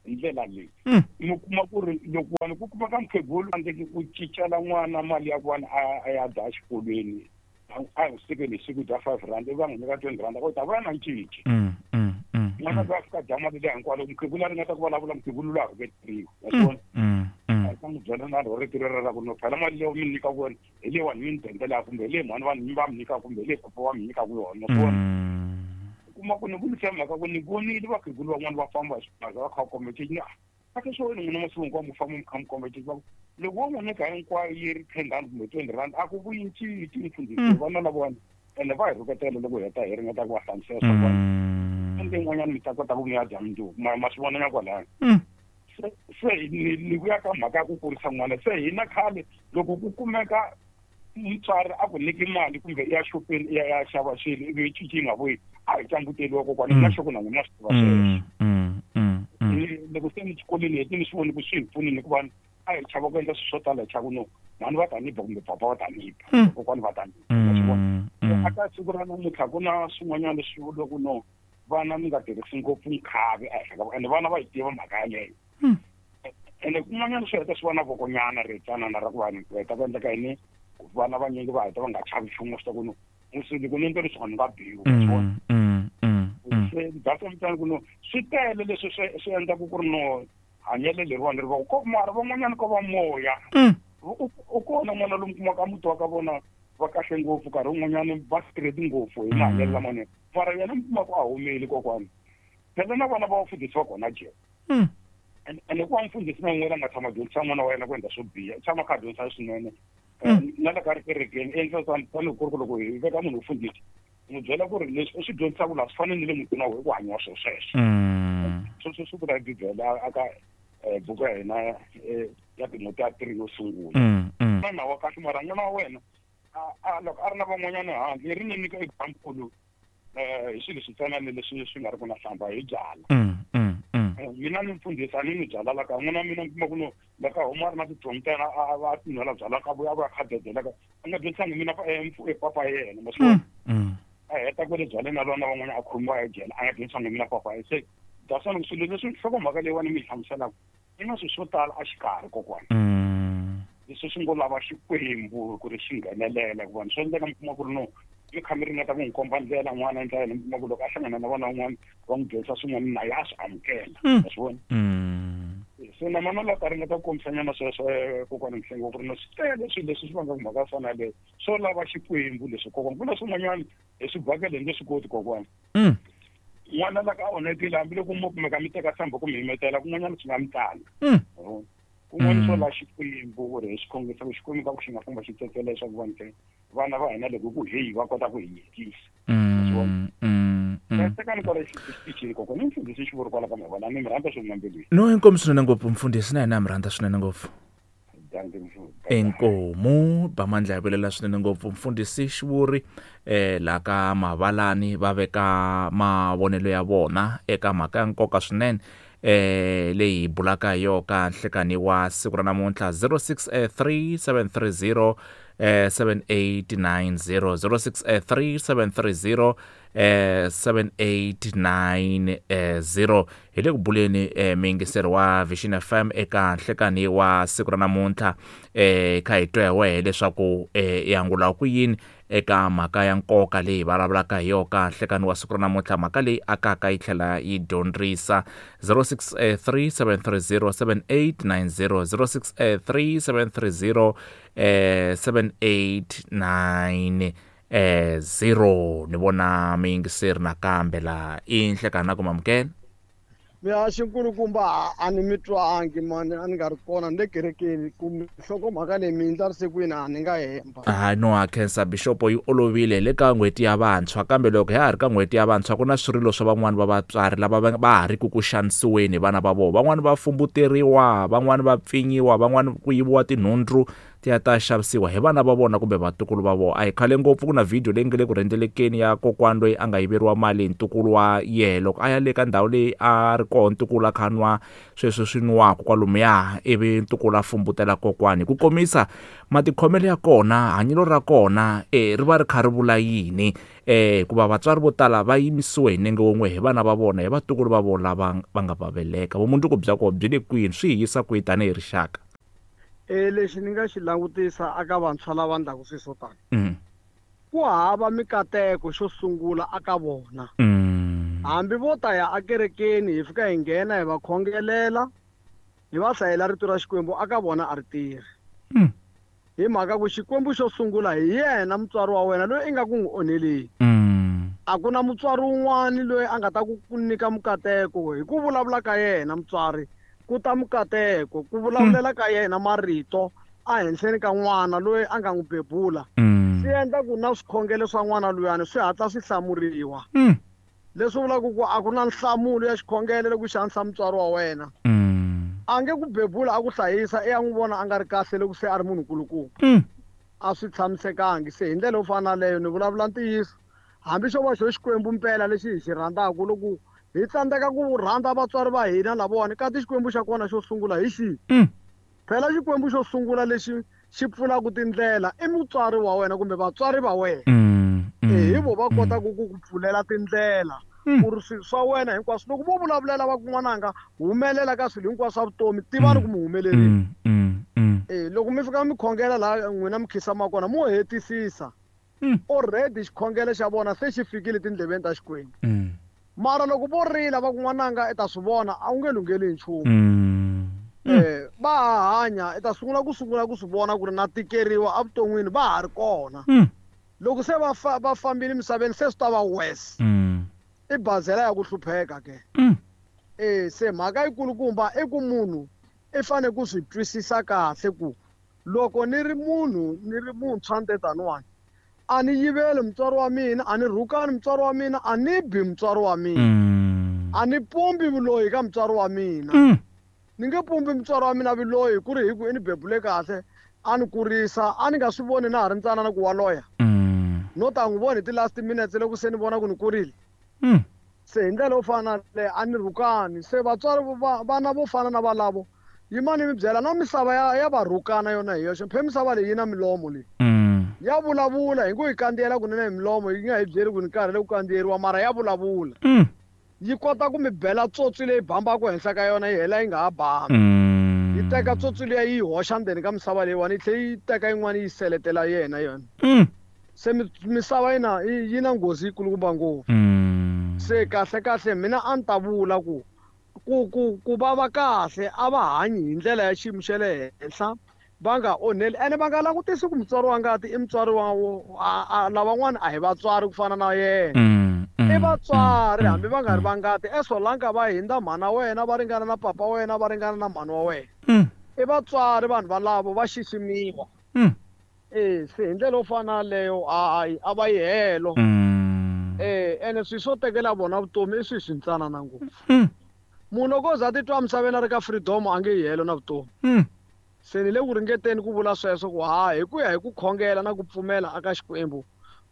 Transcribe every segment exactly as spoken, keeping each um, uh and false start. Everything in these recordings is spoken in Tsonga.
Hi ndlela leyi Mm. Mi kuma ku ri loko wani ku kuma ka mukhegulu tsandzeki ku cincela n'wana mali ya ku wani a a ya dya exikolweni, a hi siku ni siku dya five rand, ivi va n'wi nyika twenty rand, u ta vuya na cinci. Mm, mm, mm, N'wana mm. loyi a fika dya mali leyi hinkwayo, loko mukhegulu a ringeta ku vulavula, mukhegulu loyi a rhuketeriwa, wa swi vona? Mm, mm. A ta n'wi byela na rhurheteri ra ku no phela mali leyi mi nyikaka yona hi leyi wani mi ni dendelaka, kumbe hi leyi mhani vanhu va mi nyikaka, kumbe hi leyi papa va mi nyikaka yona, wa swi vona? Mm. Kuma ku ni vulisa mhaka ku ni vonile vakhegulu van'wani va famba hi swibaza va kha va komba cinci, a ke swo wena n'wina masiku hinkwawo mi famba mi kha mi komba cinci, va ku loko wo n'wi nyika hinkwayo yi ri ten rand kumbe twenty rand, a ku vuyi cinci, mfundhisi. Mm. Vana lavawani ene va hi rhuketela loko hi heta hi ringeta ku va hlamusela swa ku Mm. ende yin'wanyana mi ta kota ku mi ya dya mundzuku, ma ma swi vona nya kwalano. Mm. se se ni ni vuya ka mhaka ya ku kurisa n'wana. Se hina khale loko ku kumeka mutswari a ku nyiki mali kumbe i ya xopeni i ya ya xava swilo ivi cinci yi nga vuyi, a hi canguteliwa kokwana. Mm. Na xoko na n'wina swi tiva sweswo. Mm, mm, mm, mm. Ni- loko se ni xikolweni heti ni swi voni ku swi hi pfunile hikuva a hi chava ku endla swilo swo tala, hi chava ku no mhani va ta ni ba kumbe papa va ta ni ba, Mm. kokwani va ta ni ba, wa swi vona? Mm, mm. A ka siku ra namuntlha ku na swin'wanyana leswi vuriwaka no vana mi nga tirhisi ngopfu nkhavi ehenhla ka ene vana va yi tiva mhaka yaleyo. Mm. Ene kun'wanyana swi heta swi va na vokonyana ri tsanana ra ku vanhu ku heta ku endleka yini, vana vanyingi va heta va nga chavi nchumu, swi ta ku no musi loko ni endle leswi ni nga biwi, wa swi vona? Mm, mm, mm, mm. Se data mutani ku no swi tele leswi swi swi endlaku ku ri no hanyelo leriwani ri va ko, mara van'wanyana ko va moya. Mm. U u kona n'wana lomu kumaka muti wa ka vona va kahle ngopfu, nkarhi wun'wanyani va straight ngopfu hi mahanyelo Mm. lamanene, mara yena mi kuma ku a humile kokwani phela na vana va vafundhisi va kona jele. Mm. Ene ku va mufundhisi na un'wana a nga tshama dyondzisa n'wana wa yena ku endla swo biha, u tshama kha a dyondzisa swinene. Mm. Na le ka ri kerekeni endla tani tanihi ku ri ku loko hi veka munhu mufundhisi n'wi byela ku ri leswi u swi dyondzisaka laha swi fane ni le mutini wa wena ku hanyiwa swilo sweswo. Mm. Sweswo swi vula hi bibele a ka eh, buku ya hina eh, ya Timotiya three yo sungula. Mm, mm. N'wana wa kahle, mara n'wana wa wena a- a loko a ri na van'wanyana handle ri ni nyika example eh hi swilo switsanana leswi swi nga ri ku na hlamba hi byala. Mm, mm, mm. Eh, mina ni mfundhisi a ni nwi byala la ka n'wana wa mina, mi kuma ku no la ka huma a ri na tithomi ta yena, a a tinwela byala ka vuya a vuya kha dedela ka a nga dyondzisangi mina pa- eh, mfu- eh, papa yena, ma swi vona? Mm, mm. A heta kwale byaleni na lona van'wana a khomiwa ejele a nga dyondzisangi mina papa yena. Se dasani ku swilo leswi nhlokomhaka leyiwani mi yi hlamuselaka yi na swilo swo tala a xikarhi kokwana. Mm. Leswi swi ngo lava Xikwembu ku ri xi nghenelela hikuva swi endleka mi kuma ku ri no mi kha mi ringeta ku n'wi komba ndlela n'wana endla yena, mi kuma ku loko a hlangana na vana van'wana va n'wi dyondzisa swin'wana na ye a swi amukela. Mm. Wa swi vona? Mm. Se na mana la ta ringeta ku kombisanyana sweswo eh, kokwana Mhlengwa ku ri no swi tele swilo leswi swi vangaka mhaka yo fana yaleyo, swo lava Xikwembu leswi kokwana ku na swin'wanyana hi swi bakele hi nge swi koti kokwana. Mm. N'wana la ka onhakile hambiloko mo kumeka mi teka sambho ku mi himetela kun'wanyana swi nga mi tsala. Mm. Kun'wana swo Mm. la Xikwembu ku ri hi xikhongelo ku Xikwembu ka ku xi nga famba xi tsetsela leswaku vanhu ke vana va hina loko ku heyi va kota ku hi yingisa. Mm, mm, mm. Tekani kwala xitichini kokwana, ni mfundhisi xivuri kwala ka mavona, ni mi rhandza swinene mbilwini. No, inkomu swinene ngopfu mfundhisi, na hina mi rhandza swinene ngopfu. Dankie mfundhisi. Inkomu bamandla ya vilela swinene ngopfu mfundhisi xivuri eh la ka Mavalani va veka mavonelo ya vona eka mhaka ya nkoka swinene eh leyi hi bulaka hi yona ka nhlekani wa siku ra namuntlha. Zero six three seven three zero eh seven eight nine zero, zero six three seven three zero eh seven eight nine eh zero. Hi le ku buleni eh miyingiseri wa Vision F M eka nhlekani wa siku ra namuntlha eh kha hi twa hi wehe leswaku eh i angula ku yini eka mhaka ya nkoka leyi hi vulavulaka hi yona ka nhlekani wa siku ra namuntlha, mhaka leyi akaka yi tlhela yi dyondzisa. Zero six three seven three zero seven eight nine zero, zero six three seven three zero eh seven eight nine eh zero. Ni vona miyingiseri nakambe la i nhlekani na ku mamukela. Mihaxi nkulukumba, a ni mi twangi mani, a ni nga ri kona ni le kerekeni kumbe nhlokomhaka leyi mi ndlarise kwini, a ni nga hemba. Hayi no ha khensa bishopo, yi olovile le ka n'hweti ya vantshwa, kambe loko ha ha ri ka n'hweti ya vantshwa ku na swirilo swa van'wani va vatswari lava va va ha ri ku ku xanisiweni hi vana va vona, van'wani va fumbuteriwa, van'wani va pfinyiwa, van'wani ku yiviwa tinhundzu ti ya ta xavisiwa hi vana va vona kumbe vatukulu va vona. A hi khale ngopfu ku na video leyi nga le ku rhendzelekeni ya kokwani loyi a nga yiveriwa mali hi ntukulu wa yehe loko a ya le ka ndhawu leyi a ri kona ntukulu a kha nwa sweswo swi nwaku kwalomuya, ivi ntukulu a fumbutela kokwani. Hi ku komisa matikhomelo ya kona, hanyelo ra kona eh ri va ri kha ri vula yini, eh hikuva vatswari vo tala va yimisiwe hi nenge wun'we hi vana va vona, hi vatukulu va vona lava va nga va veleka. Vumundzuku bya kona byi le kwini, swi hi yisa kwihi tanihi rixaka? E lexi ni nga xi langutisa aka vantshwa lava endlaka swilo swo tani, Mm. ku hava mikateko xo sungula aka vona. Mm. Hambi vo ta ya akerekeni hi fika hi nghena hi va khongelela, hi va hlayela rito ra Xikwembu, aka vona a ri tirhi. Mm. Hi mhaka ku Xikwembu xo sungula hi yena mutswari wa wena loyi i nga ku n'wi onheleni. Mm. A ku na mutswari wun'wani loyi a nga ta ku ku nyika mukateko hi ku vulavula ka yena mutswari, ku ta mukateko, ku vulavulela ka yena marito a henhleni ka n'wana loyi a nga n'wi bebula. Mm. Swi endla ku na swikhongelo swa n'wana luyani swi hatla swi hlamuriwa. Mm. Leswi vulaka ku a ku na nhlamulo ya xikhongelo loko xi xanisa mutswari wa wena. Mm. A nge ku bebula a ku hlayisa, i ya n'wi vona a nga ri kahle loko se a ri munhu nkulukumba. Mm. A swi tshamisekangi. Se hi ndlela yo fana na leyo ni vulavula ntiyiso, hambi xo va xo Xikwembu mpela lexi hi xi rhandzaka, loko hi tsandzeka ku rhandza vatswari va hina lavawani, kasi Xikwembu xa kona xo sungula hi xihi? Mm. Phela Xikwembu xo sungula lexi xi pfulaka tindlela i mutswari wa wena kumbe vatswari va wena. Mm, mm, E, hi vo va mm. kotaka ku ku pfulela tindlela Mm. ku ri swilo swa wena hinkwaswo. Loko vo vulavulela va ku n'wananga humelela ka swilo hinkwaswo swa vutomi, tivani Mm. ku mi humelerile. Mm, mm, mm. E, loko mi fika mi khongela laha n'wina mi khisamaka kona, mo hetisisa. Mm. Already xikhongelo xa vona se xi fikile tindleveni ta Xikwembu. Mm. Mara loko vo rila va ku n'wananga i ta swi vona, a wu nge lungheli hi nchumu. Mm. Mm. Eh, va ha hanya, i ta sungula ku sungula ku swi vona ku ri na tikeriwa evuton'wini, va ha ri kona. Mm. Loko se va fa-, va fambile emisaveni, se swi ta va worse. Mm. I bazela ya ku hlupheka ke. Mm. Eh, se mhaka yikulukumba i ku munhu i fanele ku swi twisisa kahle ku loko ni ri munhu, ni ri muntshwa ni te taniwani, a ni yiveli mutswari wa mina, a ni rhukani mutswari wa mina, a ni bi mutswari wa mina. Mm. A ni pumbi vuloyi ka mutswari wa mina. Mm. Ni nge pumbi mutswari wa mina vuloyi ku ri hi ku i ni bebule kahle, a ni kurisa, a ni nga swi voni na ha ri ntsanana ku wa loya. Mm. No ta n'wi vona hi ti-last minutes loko se ni vona ku ni kurile. Mm. Se hi ndlela yo fana na leyo, a ni rhukani. Se vatswari va, vana vo fana na valavo, yimani mi byela na misava ya, ya va rhukana yona hi yoxe. Phe misava leyi yi na milomo leyi. Mm. Ya vulavula, hi ku yi kandziyela kunene hi milomo, yi nga hi byeli ku ni karhele ku kandziyeriwa, mara ya vulavula. Mm. Yi kota ku mi bela tsotsi leyi bambaka henhla ka yona, yi hela yi nga ha bambi. Mm. Yi teka tsotsi liya yi yi hoxa ndzeni ka misava leyiwani, yi tlhela yi teka yin'wana yi seletela yena yona. Mm. Se mi-, misava yi na, yi na nghozi yikulukumba ngopfu. Mm. Se kahle kahle mina a ni ta vula ku, ku, ku, ku va va kahle a va hanyi hi ndlela ya xiyimo xa le henhla, va nga onheli, ene va nga langutisi ku mutswari wa ngati i mutswari wa wo, a, a, lavan'wana a hi vatswari ku fana na yena. Mm, mm, I vatswari, mm, hambi va nga ri mm. va ngati, eSolanka va hindza mhana wena, va ringana na papa wena, va ringana na mhani wa wena. Mm. I vatswari vanhu valavo va xiximiwa. Mm. E, se hi ndlela yo fana na leyo, a, a, a va yi helo. Mm. E, ene swilo swo tekela vona vutomi i swilo swi ntsanana ngopfu. Mm. Munhu loko o za a titwa emisaveni a ri ka freedom, a nge yi helo na vutomi. Mm. Se ni le ku ringeteni ku vula sweswo ku ha, hi ku ya hi ku khongela na ku pfumela aka Xikwembu,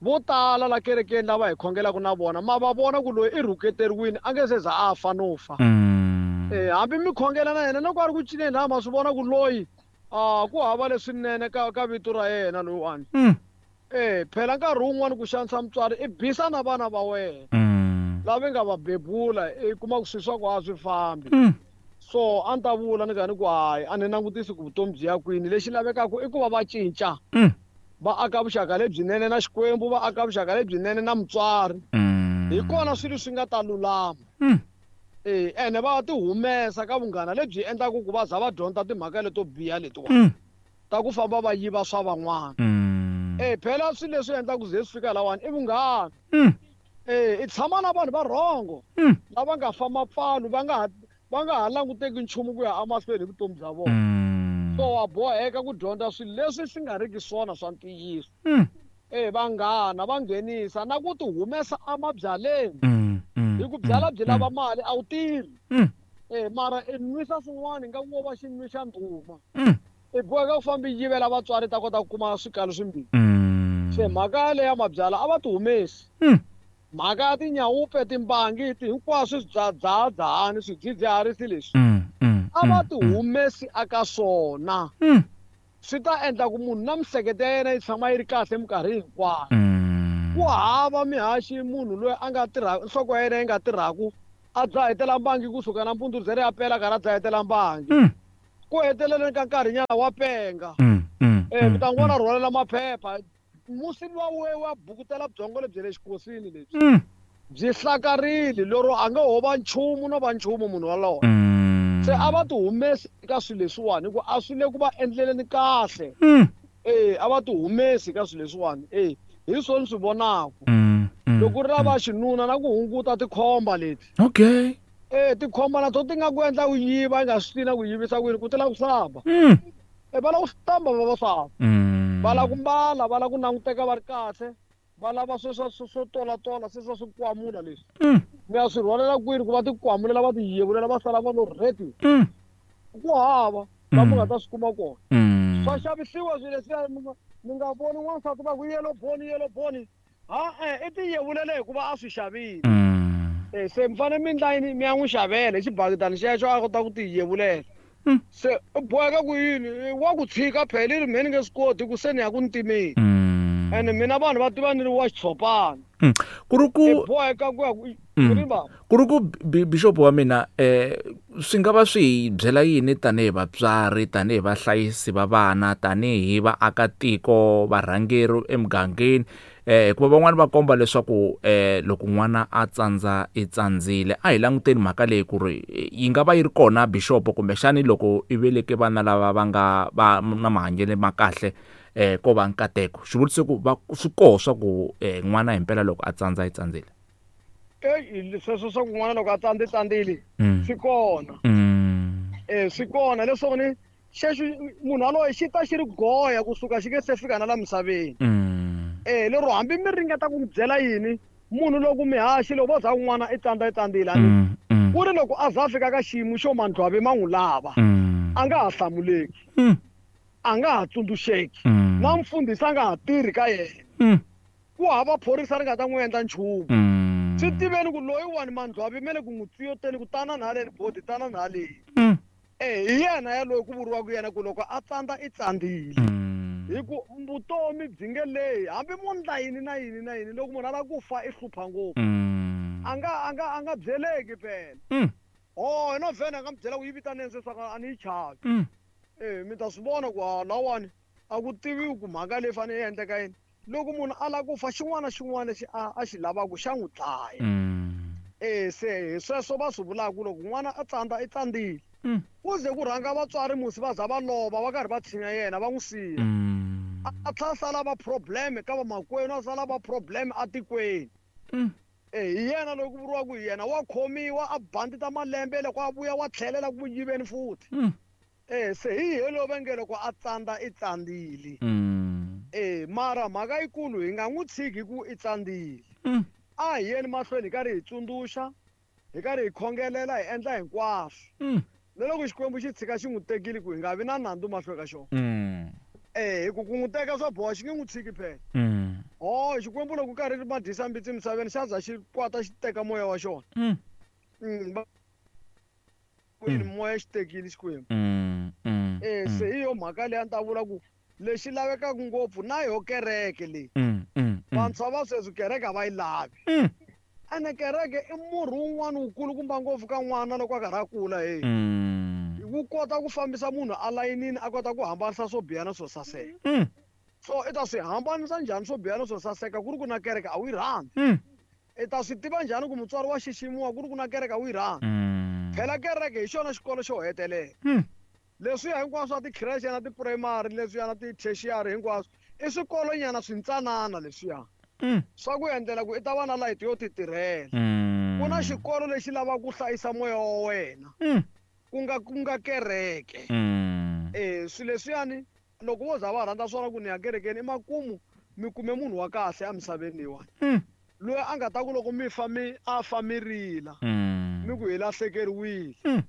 vo tala la kerekeni lava hi khongelaka na vona, ma va vona ku loyi i rhuketeriwile, a nge se za a fa no fa. Mm. Eh, hambi mi khongela na yena, loko a ri ku cineni laha, ma swi vona ku loyi, ah, ku hava leswinene ka, ka vito ra yena loyiwani. Mm. Eh, phela nkarhi wun'wani ku xanisa mutswari i bisa na vana va wena. Mm. Lava nga va bebula, i kuma ku swilo swa ku a swi fambi. Mm. So a ni ta vula ni ka ni ku hayi, a ni langutisi ku vutomi byi ya kwini. Lexi lavekaka i ku va va cinca. Mm. Va aka vuxaka lebyinene na Xikwembu, va aka vuxaka lebyinene na mutswari. Mm. Hi kona swilo swi nga ta lulama. Mm. Eh, ene va ti humesa ka vunghana lebyi endlaka ku va za va dyondza timhaka leto biha letiwani. Mm. Ta ku famba va yiva swa van'wana. Mm. Eh, phela swilo leswi endlaka ku ze swi fika lawani i vunghana. Mm. Eh, i tshama na vanhu va rhongo. Mm. Lava nga fa mapfalo, va nga ha, va nga ha languteki nchumu ku ya emahlweni hi vutomi bya vona. Mm. So wa boheka ku dyondza swilo leswi swi nga riki swona swa ntiyiso. Mm. Eh, vanghana va nghenisa na ku ti humesa emabyaleni. Mm, mm, Hi ku byala byi mm, lava mm. mali a wu tirhi. Mm. Eh, mara i nwisa swin'wana ingaku wo va xi nwisa ndhuma. Mm. I boheka ku famba yi yivela vatswari ta kota ku kuma swikalo swimbirhi. Mm. Se mhaka leya mabyala a va ti humesi. Mm. Mhaka ya tinyawupe timbangi ti hinkwaswo swi dzahadzahani swidzidziharisi leswi. Mm. Mm. A va ti humesi aka swona. Mm. Swi ta endla ku munhu na miehleketo ya yena yi tshama yi ri kahle minkarhi hinkwayo. Mm. Ku hava mihaxi munhu loyi a nga tirha nhloko ya yena yi nga tirhaku a dzahetela mbangi kusuka nampundzu ri ze ri ya pela karhi a dzahetela mbangi. Mm. Ku heteleleni ka nkarhinyana wa penga. Mm. Mm. Eh mi ta n'wi vona rhwalela maphepha. Musi luwa we wa bukutela byongo lebyi le xikosini lebyi. Mm. Byi hlakarile lero a nga ho va nchumu no va nchumu munhu walowo. Mm. Se a va ti humesi eka swilo leswiwani hikuva a swi le ku va endleleni kahle. Mm. Eh a va ti humesi eka swilo leswiwani. Eh hi swona swi vonaka. Mm. Mm. Loko ri ra va xinuna na ku hunguta tikhomba leti. Okay. Eh tikhomba na to ti nga ku endla ku yiva i nga swi tivi na ku yivisa ku yini ku ti lava ku hlamba. Mm. Eh va lava ku hlamba vavasati. Mm. Va lava ku mbala, va lava ku languteka va ri kahle. Va lava sweswo swo swo tolatola sweswo swo kwamula leswi. Mm. Mi ya swi rhwalela kwini ku va ti kwamulela va ti yevulela va sala va lo ready. Mm. Ku hava la mi nga ta swi kuma kona. Mm. Swa xavisiwa swilo leswiya mi nga mi nga voni n'wansati va ku yellow bone yellow bone. Ha-e i ti yevulele hikuva a swi xavile. Mm. Eh se mi fanele mi endla yini mi ya n'wi xavela hi xibakidani xexo a kota ku ti yevulela. Mm. Se u boheka ku yini wa ku tshika phela i ri mehe ni nge swi koti ku se ni ya ku ntimeni. Mm. Ene mina vanhu va tiva ni ri wa xitshopana. Mm. Ku ri ku I boheka ku ya ku Mm. ri va ku ri ku bishop wa mina eh swi nga va swi hi byela yini tanihi vatswari tanihi vahlayisi va vana tanihi vaakatiko varhangeri emugangeni eh hikuva van'wani va komba leswaku eh loko n'wana a tsandza i tsandzile a hi languteni mhaka leyi ku ri yi nga va yi ri kona bishop kumbexani loko i veleke vana lava va nga va na mahanyelo ma kahle eh ko va nkateko xivutiso ku va swi koho swa ku eh n'wana himpela loko a tsandza i tsandzile. Eh sweswo swa ku n'wana loko a tsandze tsandzile Mm. swi kona. Mm. Eh swi kona leswaku ni xexo munhu yaloye xi ta xi ri goya kusuka xi nge se fika na la misaveni. Mm. Eh lero hambi mi ringeta ku n'wi byela yini munhu loko mihaxi loko vo za n'wana i tsandza i tsandzile ani Mm. Mm. ku ri loko a za a fika ka xiyimo xo mandlwavi ma n'wi lava Mm. a nga ha hlamuleki Mm. a nga ha tsundzuxeki Mm. na mfundhisi a nga ha tirhi ka yena Mm. ku hava phorisa ri nga ta n'wi endla nchumu. Mm. Swi tiveni ku loyiwani mandlwavi me le ku n'wi tsiyoteni ku tanani haleni bodi tanani haleni. Mm. Eh hi yena yaloye ku vuriwaka yena ku loko a tsandza i tsandzile. Mm. Hi ku vutomi byi nge lehi hambi mo ndla yini na yini na yini loko munhu a lava ku fa i hlupha ngopfu. Mm. A nga a nga a nga byeleki phela. Mm. Oh no vhene a nga mi byela ku yi vitaneni sweswi a ni yi chavi. Mm. Eh mi ta swi vona ku ha lawani a ku tiviwi ku mhaka leyi fanele yi endleka yini. Loko munhu a lava ku fa xin'wana na xin'wana lexi a a xi lavaka xa n'wi dlaya. Mm. Eh se hi sweswo va swi vulaka ku loko n'wana a tsandza i tsandzile. Mm. Ku ze ku rhanga vatswari musi va za va lova va karhi va tshinya yena va n'wi siya. Mm. A tlhela a sala va problem ka vamakwenu a sala va problem atikweni. Mm. Eh hi yena loyi ku vuriwaka hi yena wa khomiwa a bandita malembe loko a vuya wa tlhelela ku yiveni futhi. Mm. Eh se hi yena loyi va nge loko a tsandza i tsandzile. Mm. Eh mara mhaka yikulu hi nga n'wi tshiki ku i tsandzile. Mm. A hi yeni mahlweni hi karhi hi tsundzuxa hi karhi hi khongelela hi endla hinkwaswo. Mm. Na loko Xikwembu xi tshika xi n'wi tekile ku hi nga vi na nandzu mahlweni ka xona. Mm. Eh hi ku ku n'wi teka swa boha xi nge n'wi tshiki phela. Mm. Oh Xikwembu loko karhi ri madyisa mbitsi emisaveni xa za xi kwata xi teka moya wa xona. Mm. Mm. va- Kwini moya xi tekile Xikwembu. Mm. Mm. Eh se hi yo mhaka leyi a ni ta vula ku lexi lavekaka ngopfu na yo kereke leyi. Mm. Mm. Vantshwa va sweswi kereke a va yi lavi. Mm. Ene kereke i murhi wun'wana wukulukumba ngopfu ka n'wana loko a karhi a kula he. Mm. Wu kota ku fambisa munhu alayinini a kota ku hambanisa swo biha na swo saseka. Mm. So i ta swi hambanisa njhani swo biha na swo saseka ku ri ku na kereke a wu yi rhandzi. Mm. I ta swi tiva njhani ku mutswari wa xiximiwa ku ri ku na kereke a wu yi rhandzi. Mm. Phela kereke hi xona xikolo xo hetelela. Mm. Leswiya hinkwaswo swa ti-creche na ti-primary leswiya na ti-tertiary hinkwaswo i swikolonyana swintsanana leswiya. Mm. Swa ku endlela ku i ta va na layiti yo ti tirhela. Mm. Ku na xikolo lexi lavaka ku hlayisa moya wa wena Mm. ku nga ku nga kereke. Mm. Eh swilo leswiyani loko vo za va rhandza swona ku ni ya kerekeni i makumu mi kume munhu wa kahle emisaveni leyiwani. Mm. Loyi a nga ta ku loko mi fa mi a fa mi rila Mm. mi ku hi lahlekeriwile. Mm.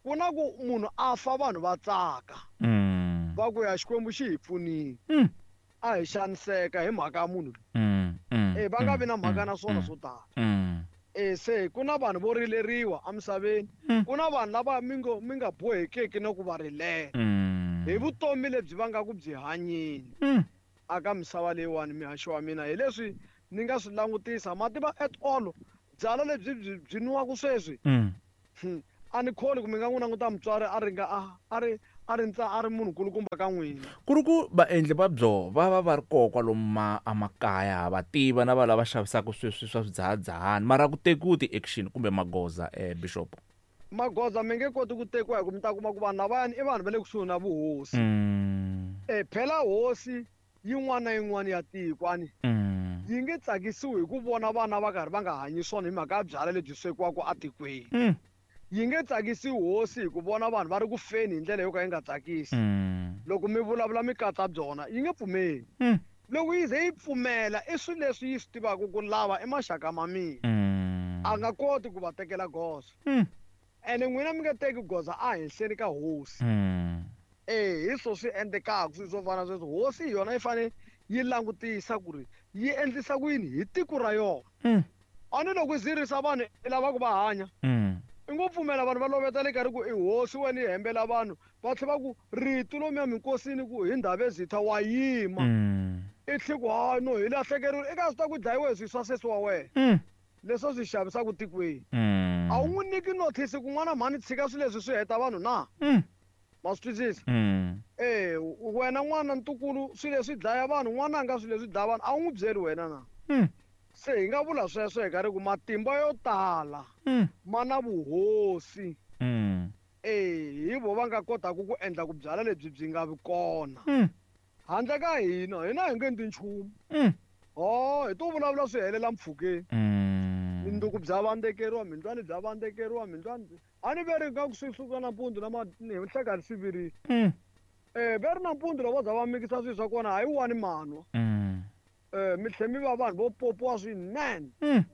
Ku na ku munhu a fa vanhu va tsaka. Mm. Va ku ya Xikwembu xi hi pfunile. Mm. A hi xaniseka hi mhaka ya munhu. Mm. Mm. Eh va nga vi na mhaka mm, na swona mm, swo tala. Mm. Eh se ku na vanhu vo rileriwa emisaveni. Mm. Ku na vanhu lava mi ngo mi nga bohekeki na ku va rilela. Mm. Hi vutomi lebyi va nga ku byi hanyeni. Mm. Aka misava leyiwani mihaxo wa mina hi leswi ni nga swi langutisa ma tiva at all byalwa lebyi byi byi nwiwaka sweswi. Mm. Hmm. A ni kholi ku mi nga n'wi languta mutswari a ri nga a a ri a ri ntsa a ri munhu kulukumba ka n'wina. Ku ri ku vaendli va byo va va va ri koho kwalomu ma emakaya va tiva na va lava xavisaka sweswi swa swidzahadzahani mara ku tekiwi ti-action kumbe magoza eh Bishop. Magoza mi nge koti ku tekiwa hi ku mi ta kuma ku vanhu lavayani i vanhu va le kusuhi na vuhosi. Mm. Eh phela hosi yin'wana na yin'wana ya tiko ani Mm. yi nge tsakisiwi hi ku vona vana va karhi va nga hanyi swona hi mhaka ya byalwa lebyi swekiwaka etikweni. Mm. Yi nge tsakisiwi hosi hi ku vona vanhu va ri ku feni hi ndlela yo ka yi nga tsakisi. Mm. Loko mi vulavula mi katsa byona yi nge pfumeli. Mm. Loko yi ze yi pfumela i swilo leswi yi swi tivaka ku lava i maxaka ma mina. Mm. A nga koti ku va tekela goza. Mm. Ene n'wina mi nga teki goza a henhleni ka hosi. Mm. Eh hi swo swi endlekaka swilo swo fana na sweswo. Hosi hi yona yi fanele yi langutisa ku ri yi endlisa ku yini hi tiko ra yona. Mm. A ni loko yi zirisa vanhu i lava ku va hanya. Mm. I ngo pfumela vanhu va loveta le karhi ku i hosi wena yi hembela vanhu va tlhela va ku rito lomuya minkosini ku hi ndhawu ezitha wa yima. Mm. I tlhe ku hayi no hi lahlekeriwile i ka swi ta ku dlayiwe hi swilo swa sesi wa wena. Mm. Leswi a swi xavisaka tikweni. Mm. A wu n'wi nyiki notice ku n'wana mhani tshika swilo leswi swi heta vanhu na? Mm. Ma swi twisisa? Mm. Eh wena n'wana ntukulu swilo leswi dlaya vanhu n'wananga swilo leswi dlaya vanhu a wu n'wi byeli wena na? Mm. Se hi nga vula sweswo hi karhi ku matimba yo tala Mm. ma na vuhosi. Mm. Eh hi vo va nga kotaka ku endla ku byala lebyi byi nga vi kona. Mm. Handle ka hina hina hi nge endli nchumu. Mm. Oh hi to vulavula swi helela mpfhukeni. Mm. Minduku bya vandzekeriwa mindlwani bya vandzekeriwa mindlwani a ni ve ri nga ku swi suka nampundzu na ma ni hlekani swi virile. Mm. Eh ve ri nampundzu loko vo za va mikisa swilo swa kona hayi wani manwa. Mm. Eh mi tlhe mi va vanhu vo popiwa swinene. Mm.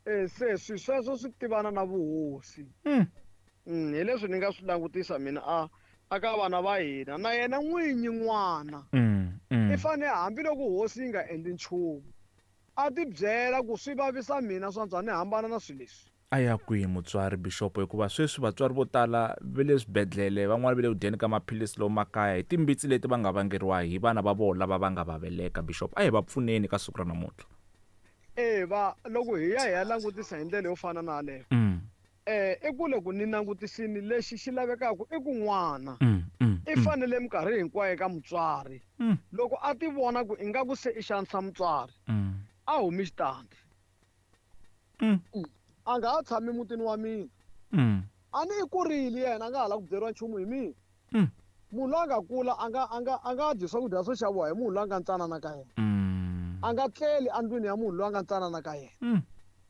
Eh se swi sweswo swi tivana na vuhosi. Mm. Mm hi leswi ni nga swi langutisa mina a a ka vana va hina na yena n'winyi n'wana. Mm. Mm. I fanele hambiloko hosi yi nga endli nchumu a ti byela ku swi vavisa mina swa antswa ni hambana na swilo leswi. A ya kwihi mutswari Bishop hikuva sweswi vatswari vo tala va le swibedhlele van'wani va le ku dyeni ka maphilisi lomu makaya hi timbitsi leti va nga vangeriwa hi vana va vona lava va nga va veleka Bishop a hi va pfuneni ka siku ra namuntlha. Eh va loko hi ya hi ya langutisa hi ndlela yo fana na yaleyo. Mm. Eh i ku loko ni langutisini lexi xi lavekaka i ku n'wana. Mm. Mm. I fanele minkarhi hinkwayo ka mutswari. Mm. Loko a ti vona ku ingaku se i xanisa mutswari. Mm. A humi xitandi. Mm. A nga ha tshami mutini wa mina. Mm. A ni i kurile yena a nga ha la ku byeriwa nchumu hi mina. Mm. Munhu loyi a nga kula a nga a nga a nga dyi swakudya swo xaviwa hi munhu loyi a nga ntsanana ka yena. Mm. A nga tleli endlwini ya munhu loyi a nga ntsanana ka yena. Mm.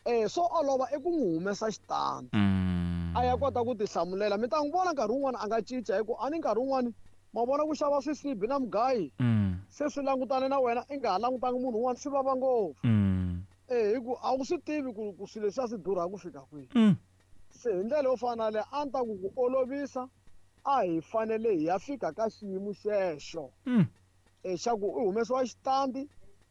Eh swo olova i ku n'wi humesa xitandi. Mm. A ya kota ku tihlamulela mi ta n'wi vona nkarhi wun'wani a nga cinca hi ku a ni nkarhi wun'wani ma vona ku xava swisibi na mugayi. Mm. Se swi langutane na wena i nga ha langutanga munhu un'wana swi vava ngopfu. Mm. Eh hi ku a wu swi tivi ku ku swilo leswi a swi durha ku fika kwihi. Mm. Se hi ndlela yo fana na leyo a ni ta ku ku olovisa a hi fanele hi ya fika ka xiyimo xexo. Mm. Eh xa ku i humesiwa xitandi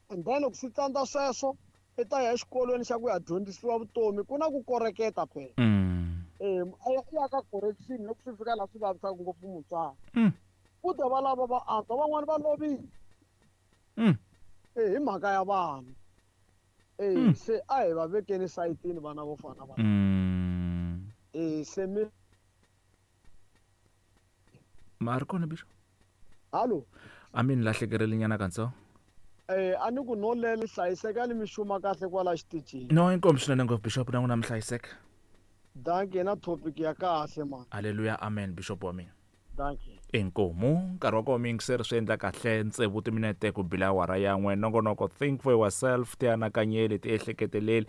and then loko swi tsandza sweswo i ta ya exikolweni xa ku ya dyondzisiwa vutomi ku na ku koreketa phela. Mm. Eh a ya ya ka correction loko swi fika laha swi vavisaka ngopfu mutswari. Mm. Ku ta va lava va antswa van'wani va lovile. Mm. Eh hi mhaka ya vana. Eh Mm. se a hi va vekeni sayitini vana vo fana va. Mm. Eh se mi Ma ri kona Bishop? Hallo. A mi ni lahlekerile nyana kantsongo. Eh a ni ku no lele hlayiseka ni mi xuma kahle kwala xitichini. No inkomu swinene ngopfu Bishop na n'wina mi hlayiseka. Dankie na topic ya kahle man. Haleluya amen Bishop wa mina. Dankie. Inkomu nkarhi wa kona miyingiseri swi endla kahle tsevu timinete ku bila awara yan'we nongonoko think for yourself tianakanyeli tiehleketeleli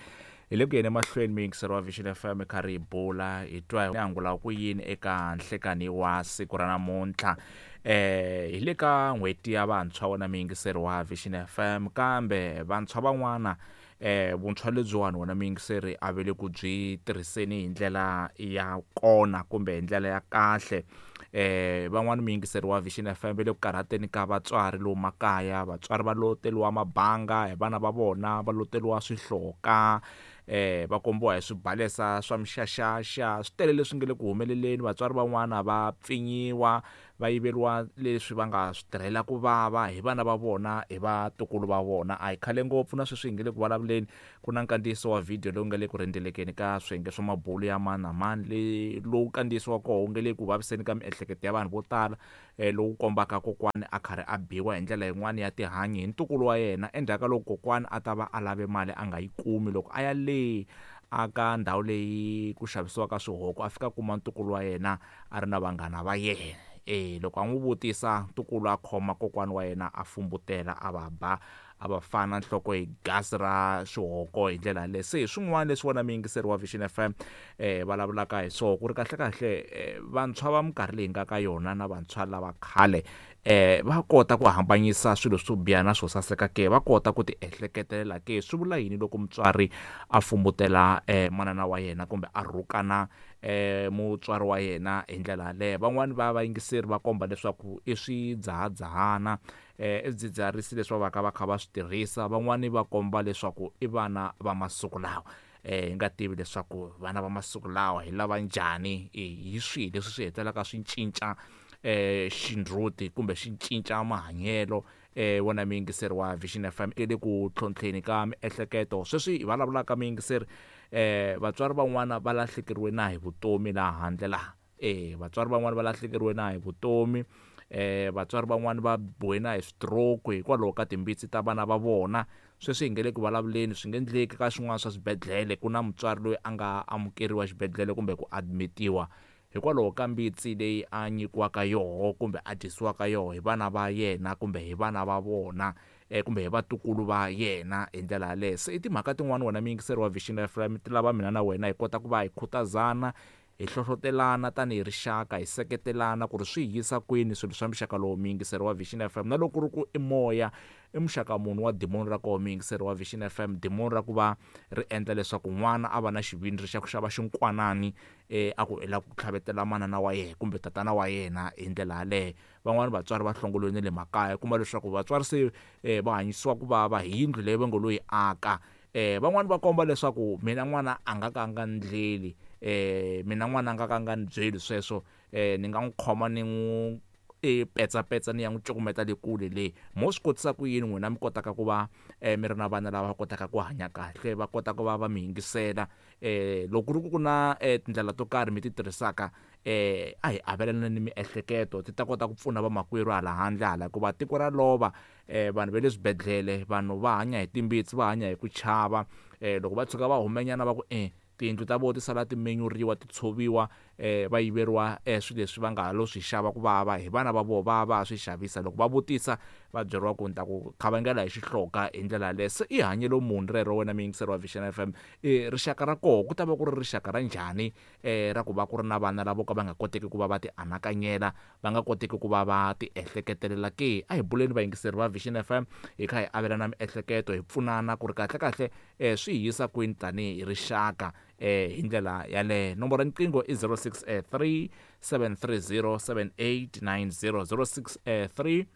hi le ku yeni emahlweni miyingiseri wa Vision F M kha ri hi bula hi twa hi angula ku yini eka nhlekani wa siku ra namuntlha eh hi le ka n'hweti ya vantshwa wona miyingiseri wa Vision F M kambe vantshwa van'wana eh vuntshwa lebyiwani wona miyingiseri a ve le ku byi tirhiseni hi ndlela ya kona kumbe hi ndlela ya kahle Eh van'wani muyingiseri wa Vision F M va le ku karhateni ka vatswari lomu makaya, vatswari va loteriwa mabanga hi vana va vona, va loteriwa swihloka, eh va kombiwa hi swibalesa swa mixaxaxa, swi tele leswi nge le ku humeleleni. Vatswari van'wana va pfinyiwa, va yiveriwa leswi va nga swi tirhela ku vava hi vana va vona, hi vatukulu va vona. A hi khale ngopfu na sweswi hi nge le ku vulavuleni, ku na nkandziyiso wa video lowu nga le ku rhendzelekeni ka swiyenge swa mabulu ya mani na mani, leyi lowu nkandziyiso wa koho wu nge le ku vaviseni ka miehleketo ya vanhu vo tala, eh lowu kombaka kokwani a karhi a biwa hi ndlela yin'wana ya tihanyi hi ntukulu wa yena endzhaku ka loko kokwani a ta va a lave mali a nga yi kumi. Loko a ya le aka ndhawu leyi ku xavisiwaka swihoko, a fika kuma ntukulu wa yena a ri na vanghana va yena. Eh loko a n'wi vutisa, ntukulu a khoma kokwani wa yena a fumbutela, a va ba, a va fana nhloko hi gasi ra xihoko hi ndlela yaleyo. Se hi swin'wana leswi wona muyingiseri wa Vision F M eh vulavulaka hi swona, ku ri kahle kahle vantshwa va minkarhi leyi nga ka yona na vantshwa lava khale eh va kota ku hambanyisa swilo swo biha na swo saseka ke, va kota ku ti ehleketelela ke. Swi vula yini loko mutswari a fumbutela eh manana wa yena kumbe a rhukana eh mutswari wa yena hi ndlela yaleyo? Van'wani va vayingiseri va komba leswaku i swidzahadzahana, eh i swidzidziharisi leswi va vaka va kha va swi tirhisa. Van'wani va komba leswaku i vana va masiku lawa, eh hi nga tivi leswaku vana va masiku lawa hi lava njhani, hi swihi leswi swi hetelelaka swi cinca eh xindzuti kumbe xi cinca mahanyelo. Eh wona muyingiseri wa Vision F M le ku tlhontlheni ka miehleketo sweswi hi vulavulaka muyingiseri, eh vatswari van'wana va lahlekeriwe na hi vutomi laha handle laha, eh vatswari van'wana va lahlekeriwe na hi vutomi, eh vatswari van'wana va biwe na hi stroke hikwalaho ka timbitsi ta vana va vona. Sweswi hi nge le ku vulavuleni, swi nge endleki ka swin'wana swa swibedhlele ku na mutswari loyi a nga amukeriwa xibedhlele kumbe ku admitiwa hikwalaho ka mbitsi leyi a nyikiwaka yoho kumbe a dyisiwaka yoho hi vana va yena kumbe hi vana va vona, eh kumbe hi vatukulu va yena hi ndlela yaleyo. Se i timhaka tin'wana wena muyingiseri wa Vision F M ti lava mina na wena hi kota ku va hi khutazana, hi hlohlotelana tanihi rixaka, hi seketelana ku ri swi yisa kwini swilo swa muxaka lowu muyingiseri wa Vision F M. Na loko ku ri ku i moya, i muxaka munhu wa dimoni ra koho muyingiseri wa Vision F M, dimoni ra ku va ri endla leswaku n'wana a va na xivindzi xa ku xava xinkwanani, eh a ku i lava ku tlhavetela manana wa yena kumbe tatana wa yena hi ndlela yaleyo. Van'wani vatswari va hlongoliwe na le makaya, kuma leswaku vatswari se eh va hanyisiwa ku vava hi yindlu leyi va ngo lo yi aka. Eh van'wani va komba leswaku mina n'wana a nga ka nga ndleli, eh mina n'wana a nga ka nga ni byeli sweswo, eh ni nga n'wi khoma ni n'wi e petsa petsa ni ya n'wi cukumeta le kule le. Mo swi kotisa ku yini n'wina mi kotaka ku va eh mi ri na vana lava kotaka ku hanya kahle, va kota ku va va mi yingisela? Eh loko ku ri ku na eh tindlela to karhi mi ti tirhisaka, eh a hi avelana ni miehleketo ti ta kota ku pfuna vamakwerhu hala handle hala, hikuva tiko ra lova, eh vanhu va le swibedhlele, vanhu va hanya hi timbitsi, va hanya hi ku chava. Eh loko va tshuka va humenyana va ku eh tiyindlu ta vona ti sala ti menyuriwa, ti tshoviwa, eh va yiveriwa eh swilo leswi va nga ha lo swi xava ku vava hi vana va vona, va va swi xavisa. Loko va vutisa va byeriwa ku ni ta ku khavangela hi xihloka hi ndlela yaleyo. Se i hanyelo muni rero wena muyingiseri wa Vision F M? Eh rixaka ra koho ku ta va ku ri rixaka ra njhani, eh ra ku va ku ri na vana lavo ka va nga koteki ku va va ti anakanyela, va nga koteki ku va va ti ehleketelela ke? A hi buleni vayingiseri va Vision F M, hi kha hi avelana miehleketo, hi pfunana ku ri kahle kahle eh swi hi yisa kwini tanihi rixaka eh hi ndlela yaleyo. Nomboro ya riqingho i zero six three seven three zero seven eight nine zero, zero six three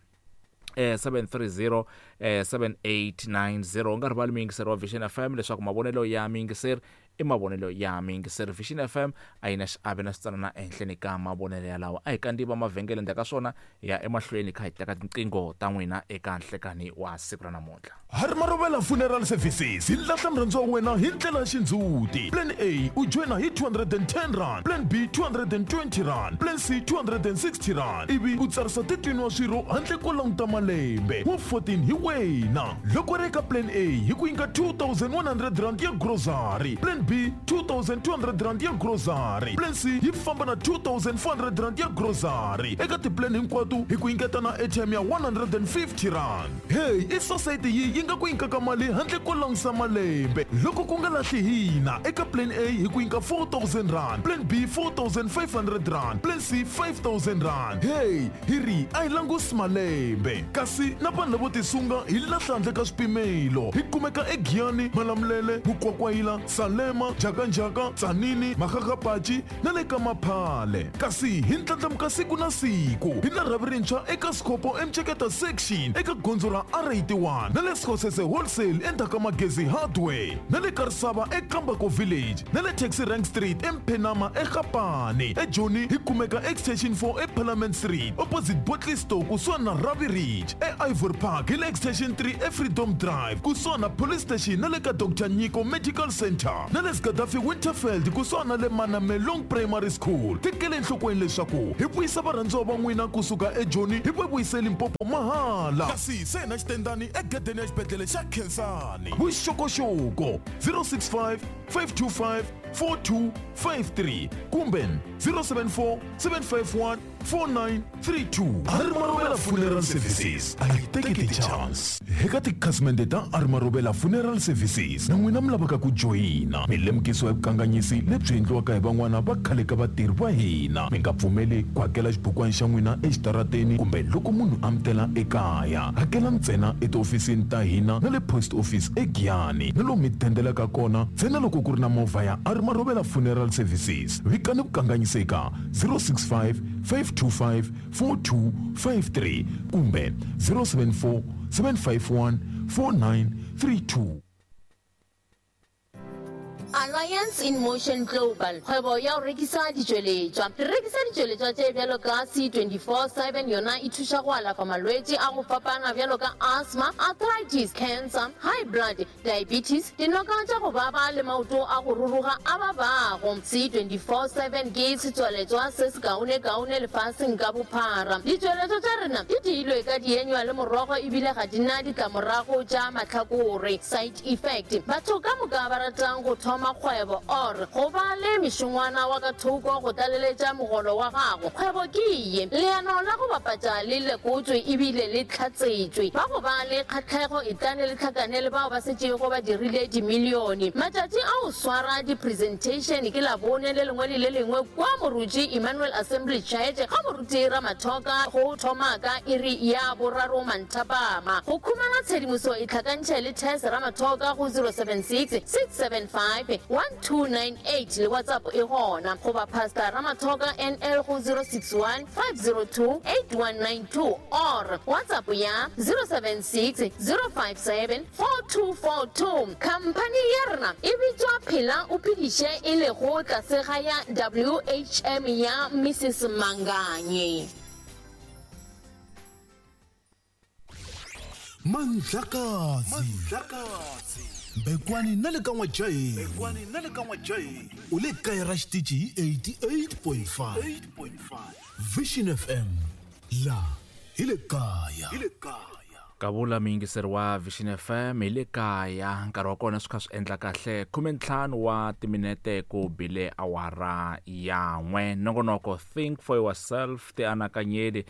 eh seven three zero eh seven eight nine zero. U nga rivali muyingiseri wa Vision F M leswaku mavonelo ya muyingiseri i mavonelo ya muyingiseri. Vision F M a yi na xiave na switsanana ehenhleni ka mavonelo yalawo. A hi kandziva mavhengele ndzhaku ka swona hi ya emahlweni kha hi teka tinqingho ta n'wina eka nhlekani wa siku ra namuntlha. Hari Marovela Funeral Services hi lahla murhandzi wa wena hi ndlela ya xindzhuti. Plan A u joyina hi two hundred and ten rand, Plan B two hundred and twenty rand, Plan C two hundred and sixty rand, ivi u tsarisa thirteen wa swirho handle ko languta malembe wa fourteen hi wena. Loko ri eka Plan A hi ku nyika two thousand one hundred rand ya grocery, Plan B two thousand two hundred rand ya grocery, Plan C yi famba na two thousand four hundred rand ya grocery. Eka tiplan hinkwato hi ku nyiketa na airtime ya one hundred and fifty rand. Hey, i society yi yi nga ku nyikaka mali handle ko langusa malembe. Loko ku nga lahli hina, eka Plan A hi ku nyika four thousand rand, Plan B four thousand five hundred rand, Plan C five thousand rand. Hey, hi ri a hi langusi malembe. Kasi na vanhu lavo tisunga hi lahla handle ka swipimelo. Hi kumeka eGiyani, Malamulele, Mukwakwayila, Salem, Leshema, Jakanjaka, Tsanini, Makgakgapatši na le ka Maphale. Kasi hi ndlandlamuka siku na siku hi na rhavi rintshwa eka Scopo Emcheketa section eka gondzo ra R eighty-one na le Skhosese Wholesale endzhaku ka Magezi Hardware na le Karisava eKambako Village na le Taxi Rank Street eMphenama eGapane. EJoni hi kumeka Extension four eParliament Street opposite Botley Store kusuhani na Ravi Ridge. E-Ivory Park hi le Extension three eFreedom Drive kusuhani na Police Station na le ka Doctor Nyiko Medical Center na le Gaddafi Winterfeld kusuhani na le Manamelong Primary School. Tekele enhlokweni leswaku hi vuyisa varhandziwa va n'wina kusuka eJoni hi va vuyise Limpopo mahala. Kasi se na xitendani egedeni ya xibedhlele xa Khensani. Vuxokoxoko zero six five, five two five, four two five three kumbe zero seven four, seven five one, four nine three two. Arimarobela Funeral Services a yi teki ti-chance. Eka tikhasimende ta Arimarobela Funeral Services na n'wina mi lavaka ku joyina, mi lemukisiwa hi vukanganyisi lebyi endliwaka hi van'wana va khale ka vatirhi va hina. Mi nga pfumeli ku hakela xibukwana xa n'wina exitarateni kumbe loko munhu a mi tela ekaya. Hakela ntsena etihofisini ta hina na le post office eGiyani na lomu mi dendelaka kona ntsena loko ku ri na movha ya Arimarobela Funeral Services. Vikani vukanganyisi eka zero six five, five two five, four two five three kumbe zero seven four, seven five one, four nine three two. Alliance in Motion Global, kgwebo ya go rekisa ditšweletšwa. Re rekisa ditšweletšwa tše bjalo ka C twenty-four seven, yona e thuša go alafa malwetši a go fapana bjalo ka asthma, arthritis, cancer, high blood, diabetes, dinoka tša go baba le maoto a go ruruga a babago. C twenty-four seven ke setswaletšwa se se kaone-kaone lefaseng ka bophara. Ditšweletšwa tša rena di diilwe ka dienywa le morogo ebile ga di na ditlamorago tša mahlakore, side effect. Batho ka moka ba ratang go thoma kgwebo or go ba le mešongwana wa ka thoko go tlaleletša mogolo wa gago, kgwebo ke ye. Leano la go bapatša le lekotswe ebile le tlhatsetšwe. Ba go ba le kgatlhego e tlane le tlhakane le bao ba setšego ba dirile dimilione. Matšatši a go swara di-presentation ke Labone le lengwe le le lengwe kwa Moruti Emmanuel Assembly Church ga Moruti Ramathoka go thoma ka iri ya boraro manthapama. Go khumana tshedimoso e tlhakantšhe le Tess Ramathoka go zero seven six, six seven five, one two nine eight le WhatsApp e gona goba Pastor Ramathoka N L go zero six one, five zero two, eight one nine two or WhatsApp ya zero seven six, zero five seven, four two four two. Company ya rena e bitswa Phela o Phediše e lego tlase ga ya W H M ya Missus Manganye. Mandlakazi Bekwani na le ka Ngwajai Bekwani na le ka Ngwajai o le kae ra xitichi eighty-eight point five Vision F M la hi le kaya hi le kaya. Kavula muyingiseri wa Vision F M hi le kaya. Nkarhi wa kona swi kha swi endla kahle khumentlhanu wa timinete ku bile awara ya n'we. Nongonoko Think for Yourself, ti anakanyeli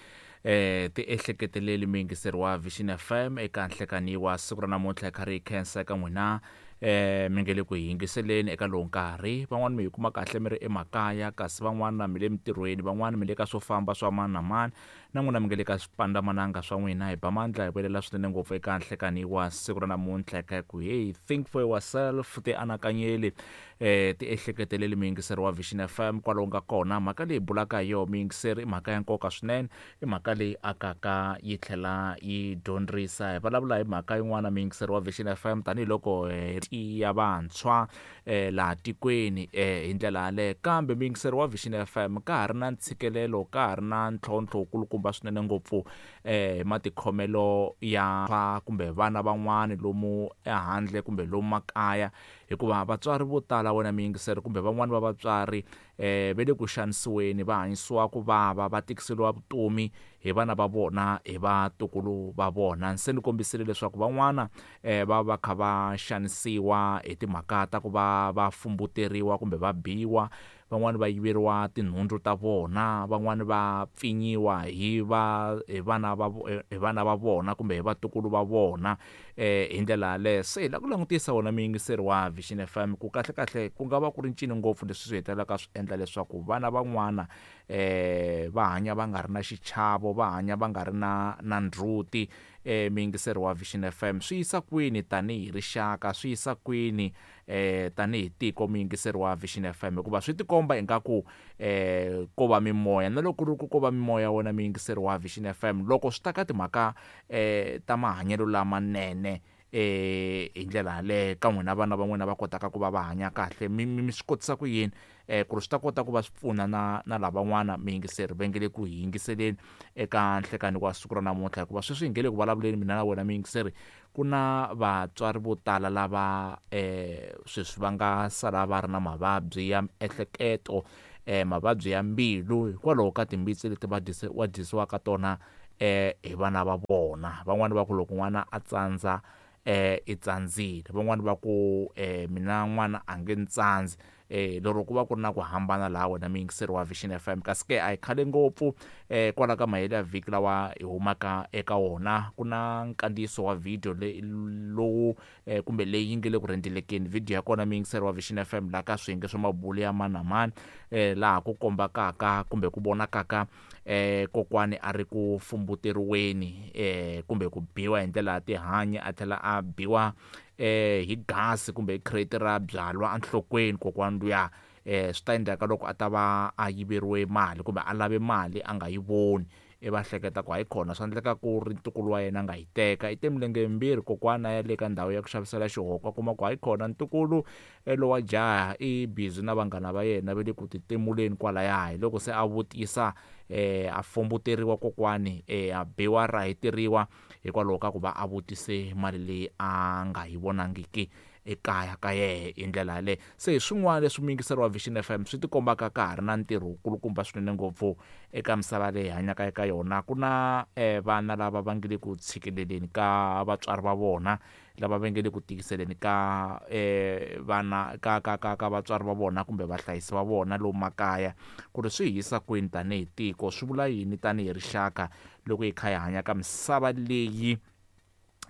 eh ti ehleketeleli muyingiseri wa Vision F M eka nhlekani wa siku ra namuntlha hi karhi hi khensa eka n'wina eh mi nge le ku yingiseleni eka lowu nkarhi. Van'wani mi hi kuma kahle mi ri emakaya, kasi van'wana mi le mintirhweni, van'wana mi le ka swo famba swa mani na mani, na n'wina mi nge le ka swipandamananga swa n'wina. Hi ba mandla hi vuyelela swinene ngopfu eka nhlekani wa siku ra namuntlha eka ku hey think for yourself, ti anakanyeli eh ti ehleketeleli muyingiseri wa Vision F M kwalomu nga kona. Mhaka leyi bulaka hi yona muyingiseri i mhaka ya nkoka swinene, i mhaka leyi akaka yi tlhela yi dyondzisa. Hi vulavula hi mhaka yin'wana muyingiseri wa Vision F M tanihiloko ya vantshwa eh laha tikweni eh hi ndlela yaleyo. Kambe muyingiseri wa Vision F M ka ha ri na ntshikelelo, ka ha ri na ntlhontlho wukulukumba swinene ngopfu eh hi matikhomelo ya kumbe vana van'wani lomu ehandle kumbe lomu makaya, hikuva vatswari vo tala wena muyingiseri kumbe van'wani va vatswari eh va le ku xanisiweni, va hanyisiwa ku vava, va tikiseliwa vutomi hi vana va vona, hi vatukulu va vona. Se ni kombisile leswaku van'wana eh va va kha va xanisiwa hi timhaka ta ku va va fumbuteriwa kumbe va biwa, van'wani va yiveriwa tinhundzu ta vona, van'wani va pfinyiwa hi va hi vana va hi vana va vona kumbe hi vatukulu va vona eh hi ndlela yaleyo. Se hi lava ku langutisa wona muyingiseri wa Vision F M ku kahle kahle ku nga va ku ri ncini ngopfu leswi swi hetelelaka swi endla leswaku vana van'wana eh va hanya va nga ri na xichavo, va hanya va nga ri na na ndzhuti eh miyingiseri wa Vision F M. Swi yisa kwini tanihi rixaka, swi yisa kwini eh tanihi tiko miyingiseri wa Vision F M, hikuva swi tikomba ingaku eh ko va mimoya, na loko ri ku ko va mimoya wona miyingiseri wa Vision F M loko swi ta ka timhaka eh ta mahanyelo lamanene eh hi ndlela yaleyo ka n'wina vana va n'wina va kotaka ku va va hanya kahle, mi mi swi kotisa ku yini eh ku ri swi ta kota ku va swi pfuna na na lavan'wana miyingiseri va nge le ku hi yingiseleni eka nhlekani wa siku ra namuntlha, hikuva sweswi hi nge le ku vulavuleni mina na wena miyingiseri, ku na vatswari vo tala lava eh sweswi va nga sala va ri na mavabyi ya miehleketo, eh mavabyi ya mbilu hikwalaho ka timbitsi leti va dyisiwa dyisiwaka tona eh hi vana va vona. Van'wani va ku loko n'wana a tsandza eh i tsandzile, van'wani va ku eh mina n'wana a nge ni tsandzi, eh lero ku va ku ri na ku hambana laha wena miyingiseri wa Vision F M. Kasi ke a hi khale ngopfu eh kwala ka mahelo ya vhiki lawa hi humaka eka wona, ku na nkandziyiso wa video lowu eh, kumbe leyi yi nge le ku rhendzelekeni video ya kona miyingiseri wa Vision F M laha ka swiyenge swa mabulo ya mani na mani eh laha ku kombakaka kumbe ku vonakaka eh kokwani a ri ku fumbuteriweni eh kumbe ku biwa hi ndlela ya tihanyi, a tlhela a biwa eh hi gasi kumbe hi crate ra byalwa enhlokweni kokwani luya. Eh swi ta endleka loko a ta va a yiveriwe mali kumbe a lave mali a nga yi voni, e va hleketa ku hayi khona swi endleka ku ri ntukulu wa yena a nga yi teka, i te milenge yimbirhi kokwana ya le ka ndhawu ya ku xavisela xihoko, a kuma ku hayi khona ntukulu lowa jaha i busy na vanghana va yena va le ku titimuleni kwalaya. Hi loko se a vutisa eh a fumbuteriwa kokwani, eh a biwa rahiteriwa hikwalaho ka ku va a vutise mali leyi a nga yi vonangiki ekaya ka yehe hi ndlela yaleyo. Se hi swin'wana leswi muyingiseri wa Vision F M swi tikombaka ka ha ri na ntirho wukulukumba swinene ngopfu eka misava leyi hi hanyaka eka yona. Ku na eh vana lava va nge le ku tshikeleleni ka vatswari va vona, lava va nge le ku tikiseleni ka eh vana ka ka ka ka vatswari va vona kumbe vahlayisi va vona lomu makaya, ku ri swi hi yisa kwini tanihi tiko, swi vula yini tanihi rixaka loko hi kha hi hanya ka misava leyi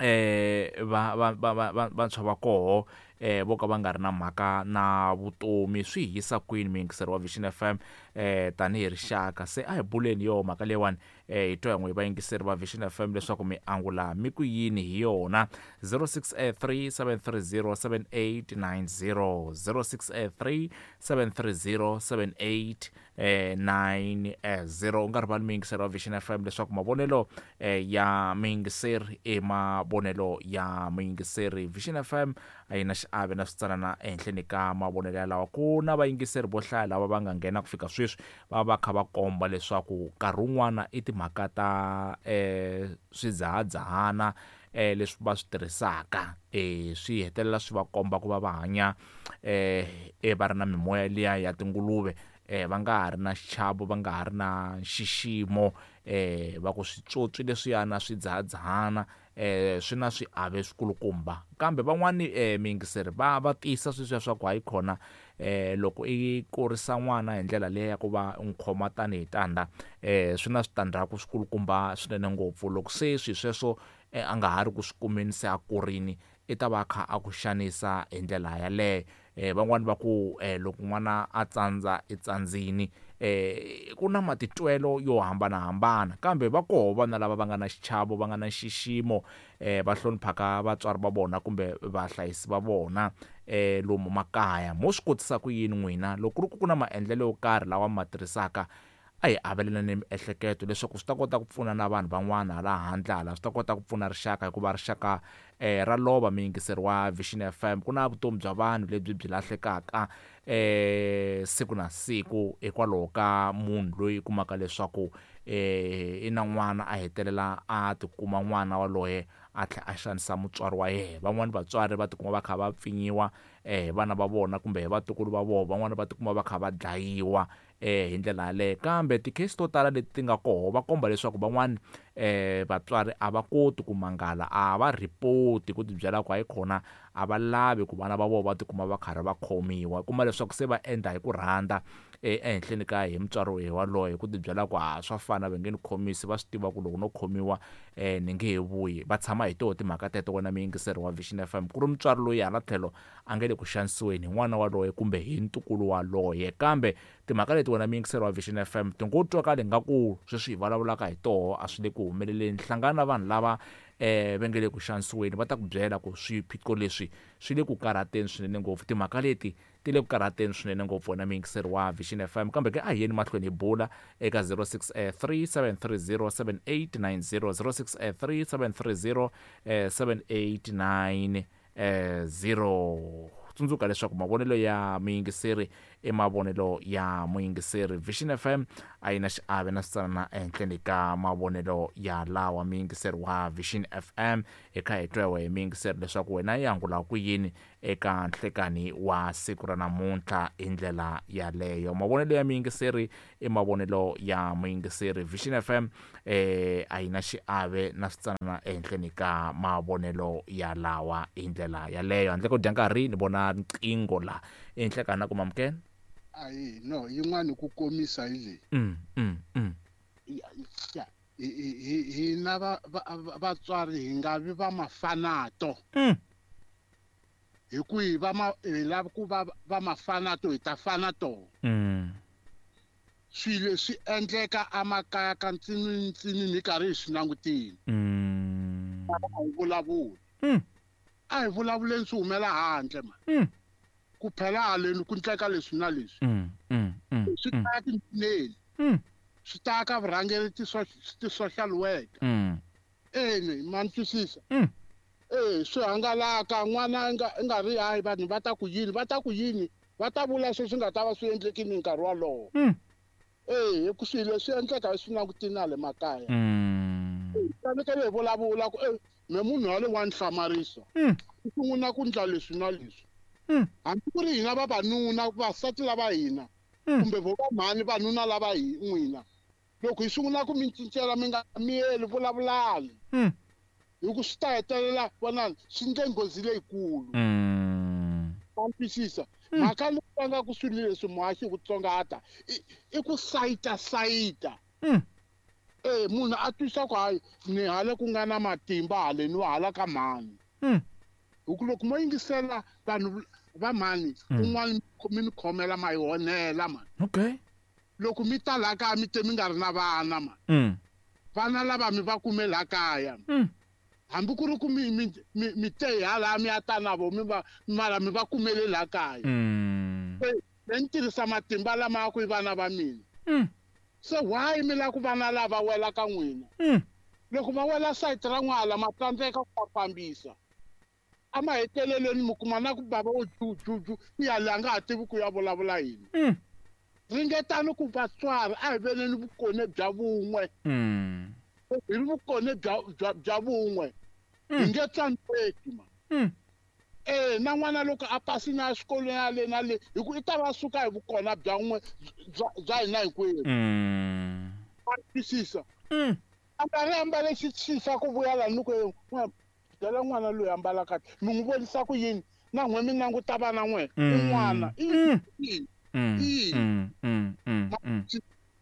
eh va va va vantshwa va koho eh vo ka va nga ri na mhaka na vutomi. Swi hi yisa kwini muyingiseri wa Vision F M eh tanihi rixaka? Se a hi buleni yo mhaka leyiwani eh hi twa n'we vayingiseri va Vision F M leswaku mi angula mi ku yini hi yona. Zero six eight three seven three zero seven eight nine zero, zero six eight three seven three zero seven eight nine zero. U nga rivali muyingiseri wa Vision F M leswaku mavonelo eh, ya muyingiseri i mavonelo ya muyingiseri. Vision F M a yi na xiave na switsanana ehenhleni ka mavonelo yalawa. Ku na vayingiseri vo hlaya lava va nga nghena ku fika sweswi va va kha va komba leswaku nkarhi wun'wana i timhaka ta eh swidzahadzahana eh leswi va swi tirhisaka eh swi hetelela swi va komba ku va va hanya eh va ri na mimoya liya ya tinguluve, eh va nga ha ri na xichavo, va nga ha ri na nxiximo, eh va ku switswotswi leswiyana swidzahadzahana eh swi na swiave swikulukumba. Kambe van'wani eh miyingiseri va va tiyisa sweswiya swa ku hayi khona eh loko i kurisa n'wana hi ndlela leyi ya ku va u n'wi khoma tanihi tandza eh swi na switandzhaku swikulukumba swinene ngopfu. Loko se swi sweswo eh, a nga ha ri ku swi kumeni se a kurini, i ta va a kha a ku xanisa hi ndlela yaleyo. Eh van'wani va ku eh loko n'wana a tsandza i tsandzini, eh ku na matitwelo yo hambanahambana, kambe va koho vana lava va nga na xichavo, va nga na nxiximo, eh va hloniphaka vatswari va vona kumbe vahlayisi va vona eh lomu makaya. Mo swi kotisa ku yini n'wina loko ku ri ku ku na maendlelo yo karhi lawa ma tirhisaka? A hi avelelane miehleketo leswaku swi ta kota ku pfuna na vanhu van'wana hala handle hala, swi ta kota ku pfuna rixaka, hikuva rixaka eh ra lova muyingiseri wa Vision F M. Ku na vutomi bya vanhu lebyi byi lahlekaka eh siku na siku hikwalaho ka munhu loyi kumaka leswaku eh i na n'wana, a hetelela a tikuma n'wana waloye a tlhela a xanisa mutswari wa yena. Van'wani vatswari va tikuma va kha va pfinyiwa eh vana va vona kumbe hi vatukulu va vona, van'wani va tikuma va kha va dlayiwa eh hi ndlela yaleyo. Kambe ti-case to tala leti ti nga koho va komba leswaku van'wani eh vatswari a va koti ku mangala, a va report ku tibyela ku hayi khona a va lavi ku vana va vona va tikuma va karhi va khomiwa, kuma leswaku se va endla hi ku rhandza ehenhleni ka hi mutswari waloye ku tibyela ku ha swa fana va nge ni khomisi va swi tiva ku loko no khomiwa um ni nge he vuyi va tshama hi toho timhaka teto wena muyingiseri wa Vision F M ku ri mutswari loyi hala tlhelo a nge le ku xanisiweni hi n'wana waloye kumbe hi ntukulu waloye kambe timhaka leti wena muyingiseri wa Vision F M ti ngo twakali nga ku sweswi hi vulavulaka hi toho a swi le ku humeleleni hlangana na vanhu lava eh va nge le ku xanisiweni va ta ku byela ku swiphiqo leswi swi le ku karhateni swinene ngopfu timhaka leti ti le ku karhateni swinene ngopfu wena muyingiseri wa Vision F M kambe ke a hi yeni mahlweni hi bula eka zero six three seven three zero seven eight nine zero zero six three seven three zero seven eight nine zero tsundzuka leswaku mavonelo ya muyingiseri i mavonelo ya muyingiseri Vision F M a yi na xiave na switsanana ehenhleni ka mavonelo ya lawa muyingiseri wa Vision F M hi kha hi twa hi muyingiseri leswaku wena yi angula ku yini eka nhlekani wa siku ra namuntlha hi ndlela yaleyo mavonelo ya muyingiseri i mavonelo ya muyingiseri Vision F M eh a yi na xiave na switsanana ehenhleni ka mavonelo ya lawa hi ndlela yaleyo handle ko dya nkarhi ni vona nqingho la enhlekani na ku mamukela ayi no yin'wana ku komisa hi leyi mm mm mm ya hi hina va vatswari hi nga vi va mafanato mm hi ku hi va ma hi lava ku va va mafanato hi ta fana to mm swilo leswi endleka emakaya ka ntsini ntsini ni karhi hi swi langutile mm a hi vulavuli mm a hi vulavuleni swi humela handle ma mm ku phela haleni ku ndleka leswi na leswi mm mm mm swi ta tinene mm swi ta ka vurhangeri ti-social worker mm ene ma ni twisisa mm eh swi hangalaka n'wana nga nga ri hayi vanhu va ta ku yini va ta ku yini va ta vula sweswi nga ta va swi endlekini nkarhi wolowo mm eh hi ku swilo leswi endleka swi langutini na le makaya mm fanekele hi vulavula ku eh me munhu wa le wa ni hlamarisa mm u sungula ku ndla leswi na leswi mm hambi ku ri hina vavanuna vasati lava hina Mm. kumbe vo vamhani vanuna lava hi n'wina loko hi sungula ku mi cincela mi nga miyeli vulavulani mm hi ku swi ta hetelela vonani swi ndle nghozi leyikulu mm ma twisisa mhaka leyi va nga ku swilo leswi muhaxi hi ku tsongahata i i ku sayita sayita mm eh munhu a twisa ku hayi ni hale ku nga na matimba haleni wa hala ka mhani mm hi ku loko mo yingisela vanhu va mhani Mm. un'wana mi mi khomela ma yi honela mani okay loko mi ta laha kaya mi te mi nga ri na vana mani mm vana lava mi va kume laha kaya mm hambi ku ri ku mi mi mi mi te hi hala mi ya ta na vo mi va mara mi va kumele laha kaya mm me ni tirhisa matimba lama ya ku i vana va mina mm se why mi lava ku vana lava wela ka n'wina mm loko va wela sayiti ra n'wala ma tsandzeka ku va fambisa emahetelelweni mi kuma na ku bava wo jujuju ku ya leyi a nga ha tivi ku ya vulavula yini mm ringetani ku vatswari a hi veneni vukone bya vun'we mm hi ri vukone bya bya bya vun'we hi Mm. nge tsandzeki ma mm eh na n'wana loko a pasini a xikolweni ya le na le hi ku i ta va suka hi vukona bya n'we bya bya hina hinkwenu mm ma twisisa mm a nga ri ambale xixisa ku vuya laha ni ku eh, n'wana byela n'wana loyi ambala kahle mi n'wi vonisa ku yini na n'we mi languta vana n'we Mm. un'wana i Mm. yini mm Yini? mm mm mm mm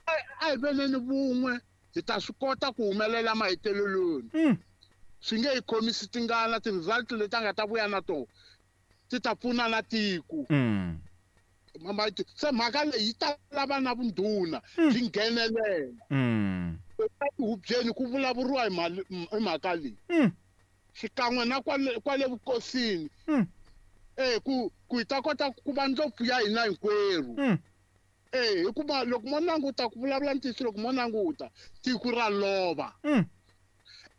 a hi veneni vun'we hi ta swi kota ku humelela mahetelelweni mm swi nge hi khomisi tingana ti-result leti a nga ta vuya na tona ti ta pfuna na tiko mm Mama, se mhaka leyi yi ta lava na vundhuna byi nghenelela mm eka tihubyeni ku vulavuriwa hi mali- hi mhaka leyi mm xikan'we na kwale kwale vukosini mm eh ku ku hi ta kota ku va ndlopfu ya hina hinkwerhu mm eh hikuva loko mo languta ku vulavula ntiyiso loko mo languta tiko ra lova mm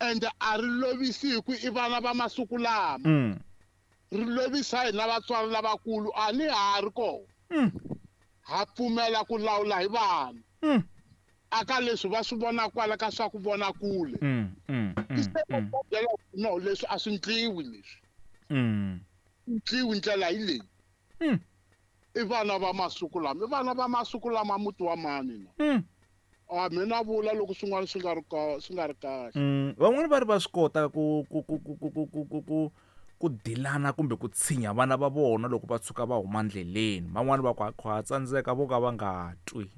ende a ri lovisi hi ku i vana va masiku lama mm ri lovisa hina vatswari lavakulu a ni ha ri kona mm ha pfumela ku lawula hi vana mm aka leswi va swi vona kwala ka swa ku vona kule mm mm se mm va byela ku no leswi a swi ndliwi leswi mm ndliwi ndlela hi leyi mm i vana va masiku lama i vana va masiku lama muti wa mani na mm a mina vula loko swin'wana swi nga ri ka swi nga ri kahle Mm, van'wani va ri va swi kota ku ku ku ku ku ku ku ku ku ku dilana kumbe ku tshinya vana va vona loko va tshuka va huma ndleleni van'wani va ku ha tsandzeka vo ka va nga twi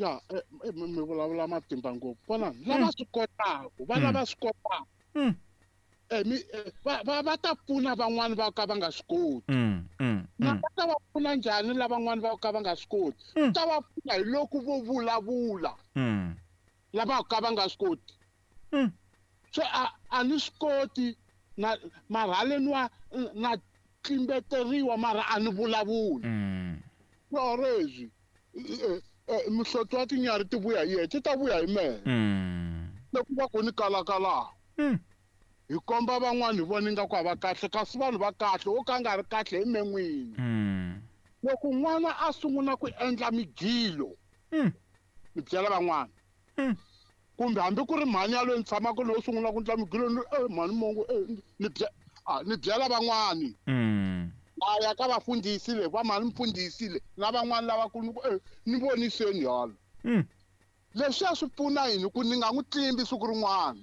ya mi vulavula matimba ngopfu vona lava swi kotaka vana va swi kotaka va va ta pfuna van'wani va ka va nga swi koti na va ta va pfuna njhani lavan'wani va ka va nga swi koti ta va pfuna hi loko vo vulavula lava ka va nga swi koti se a a ni swi koti na mara haleni wa na tlimbeteriwa mara a ni vulavuli orezi mihloti wa tinyarhi ti vuya hi yena ti ta vuya hi mehe loko va ku ni kalakala hi komba van'wani hi vona ingaku a va kahle kasi vanhu va kahle wo ka nga ri kahle hi me n'wini loko n'wana a sungula ku endla migilo mi byela van'wana kumbe hambi ku ri mhani yaloyi ni tshamaka loyi sungula ku endla migilo ni e mhani mongo ni ni byela van'wani a ya ka vafundhisi le va mhani mfundhisi le na van'wani lavakulu ni ku e ni voniseni yalo leswiya swi pfuna yini ku ni nga n'wi tlimbi siku rin'wana